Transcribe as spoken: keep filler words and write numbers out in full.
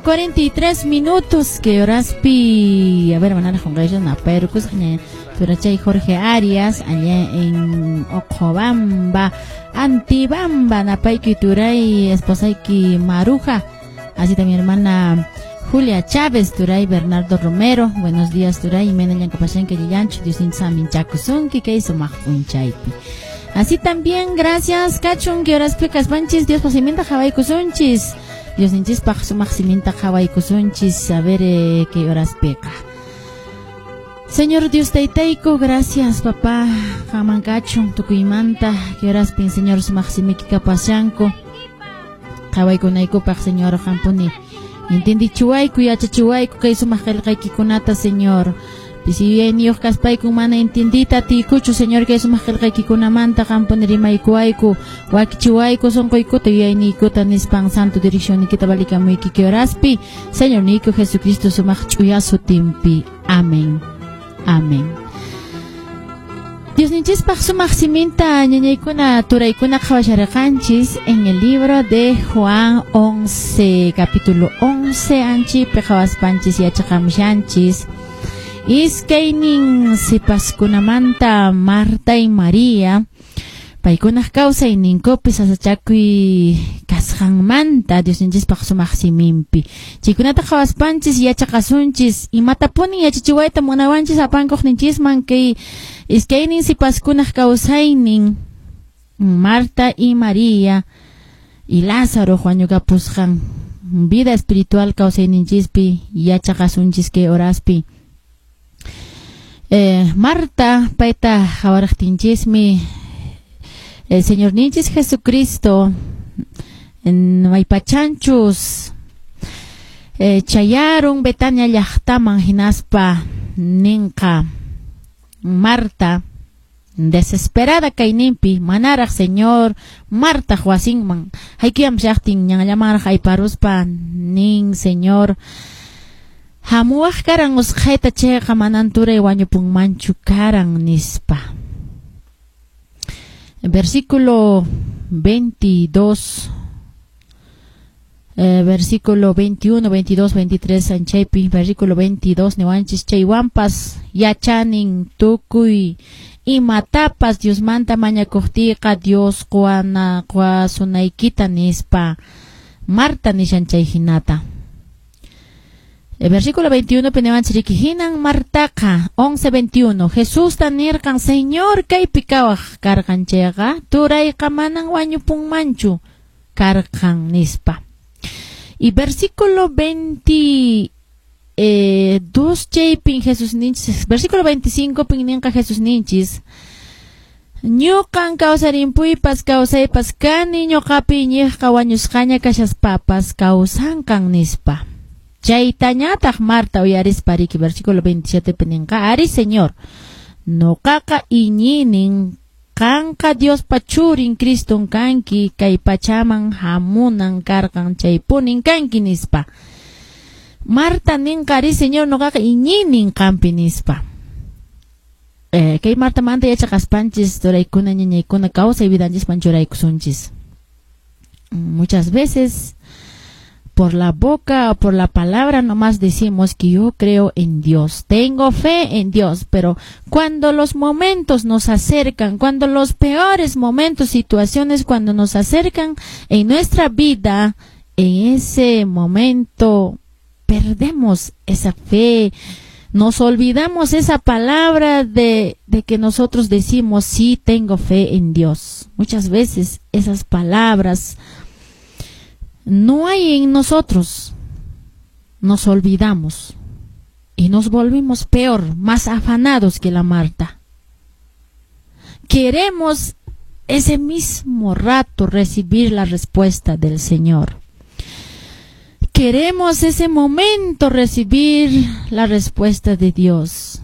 cuarenta y tres minutos. Que horaspi, a ver, manara qunqaylla napayrukusqa turachay Jorge Arias allá en Ocobamba, Antibamba, napayki turay esposayki Maruja, así también hermana Julia Chávez, turay Bernardo Romero, buenos días turay, mena llankapashanki llallanchu, Dios saminchakusunki kay sumaq p'unchaypi. Así también, gracias, kachun, que horaspi kaspanchis, Dios pasiminta qhawaykusunchis, Dios ninchispaq sumaq siminta qhawaykusunchis, a ver eh, qué horaspiqa. Señor Dios taytayku, gracias papá, qanman kachun, tukuymanta, que horaspin Señor sumaq simiki kapashanku, qhawaykunaykupaq Señor qampuni, entendichiwayku, yachachiwayku kay sumaq qillqaykikunata Señor. Pisi yuyayniyuq kaspayku mana entendita atiykuchu Señor kay sumaq qillqaykikunamanta qampuni rimaykuwayku, wakichiwayku sunquykuta yuyayniykuta nispan santo direccionnikita valikamuyki kay horaspi, Señor niyku Jesucristo sumaq ch'uya sutinpi. Amén. Amén. Diosninchispaq sumaq siminta ñañaykuna turaykuna qhawasharqanchis en el libro de Juan once, capítulo once, anchipi qhawaspanchis yachaqamushanchis. Iskaynin sipaskunamanta Marta y María, paykunaq kawsayninkupi sasachakuy kasqanmanta Diosninchispaq sumaq siminpi. Chaykunata qhawaspanchis yachaqasunchis imatapuni yachachiwayta munawanchis apankuqninchisman kay iskaynin sipaskunaq kawsaynin Marta y María y Lázaro wañukapusqan vida espiritual kawsayninchispi yachaqasunchis kay horaspi. Eh, Marta payta qhawaraqtinchismi el Señor ninchis Jesucristo en maypachanchus eh, chayarun Betania llaqtaman hinaspa ninqa Marta desesperada kayninpi manaraq Señor Marta wasinman haykuyam llaqtin ñanllamanraq ayparuspa nin Señor hamuwaq karan usqhayta chayqa manan turay wañupunmanchu karan nispa. Versículo veintidós, eh, versículo veintiuno, veintidós, veintitrés, anchaypi, versículo veintidós, niwanchis chaywanpas yachanin tukuy imatapas Diosmanta mañakuqtiyqa Dios quwana quwasunaykita nispa Marta nishan chay hinata. El versículo veintiuno, pinewanchis hinan Martaqa, once veintiuno, Jesús ta nirqan, Señor, kaypi kawaq karqan chayqa, turayqa manan wañupunmanchu karqan nispa. Y versículo veintidós, chaypin Jesús ninchis, versículo veinticinco, pin ninqa Jesús ninchis, ñuqan kawsarimpuypas kawsaypas kani ñuqapi iñiqqa wañusqaña kashaspapas kawsanqan nispa. Chaytañataq Marta uyarispa riki, versículo veintisiete pininqa, ari Señor, nuqaqa iñinin qanqa Diospa churin Criston kanki kay pachaman hamunan karqan chaypunin kanki nispa. Marta ninqa ari Señor nuqaqa iñinin qampi nispa. Eh, kay Marta manta yachaqaspanchis turaykuna ñañaykuna kawsay vidanchisman churaykusunchis. Muchas veces por la boca o por la palabra nomás decimos que yo creo en Dios, tengo fe en Dios, pero cuando los momentos nos acercan, cuando los peores momentos, situaciones, cuando nos acercan en nuestra vida, en ese momento perdemos esa fe, nos olvidamos esa palabra de, de que nosotros decimos, sí tengo fe en Dios. Muchas veces esas palabras no hay en nosotros, nos olvidamos y nos volvimos peor, más afanados que la Marta. Queremos ese mismo rato recibir la respuesta del Señor. Queremos ese momento recibir la respuesta de Dios.